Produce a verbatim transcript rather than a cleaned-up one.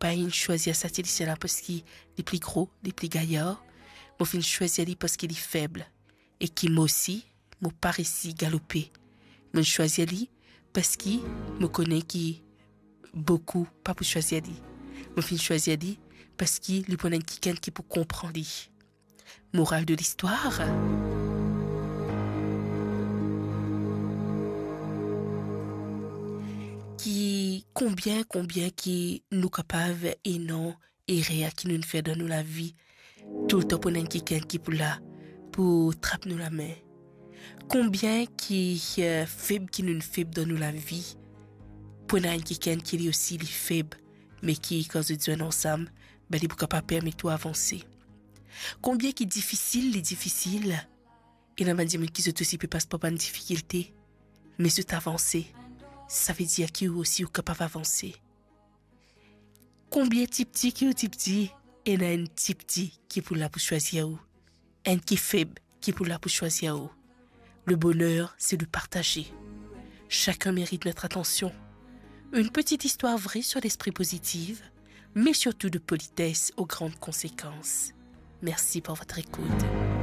Mo inn swazir sa ti lisien la parski li pli gro, li pli gayar. Mo finn swazir li parski li feb. E ki mo osi, mo pa resi galope. Mo swazir li parski mo kone ki boukou pa pou swazir li. Mo finn swazir li parski li pou ena enn kikenn ki pou konpran li. Moral de listwar. Ki konbien, konbien ki nou kapav ena erer ki nou fer dan nou lavi, toultan pou ena enn kikenn ki pou la pou trap nou lame. Konbien ki, eh, feb ki nou feb dan nou lavi, pou ena enn kikenn ki li osi li feb, me ki kan zot zwenn ansam, be li pou kapav permet ou avanse. Konbien ki difisil, li difisil, ena bann dimoun ki zot osi pe pas par bann difikilte, me zot avanse, savedir ki ou osi ou kapav avanse. Konbien tipti ki ou tipti, ena enn tipti ki pou la pou swazir ou, enn ki feb ki pou la pou swazir ou. Le bonheur, c'est de partager. Chacun mérite notre attention. Une petite histoire vraie sur l'esprit positif, mais surtout de politesse aux grandes conséquences. Merci pour votre écoute.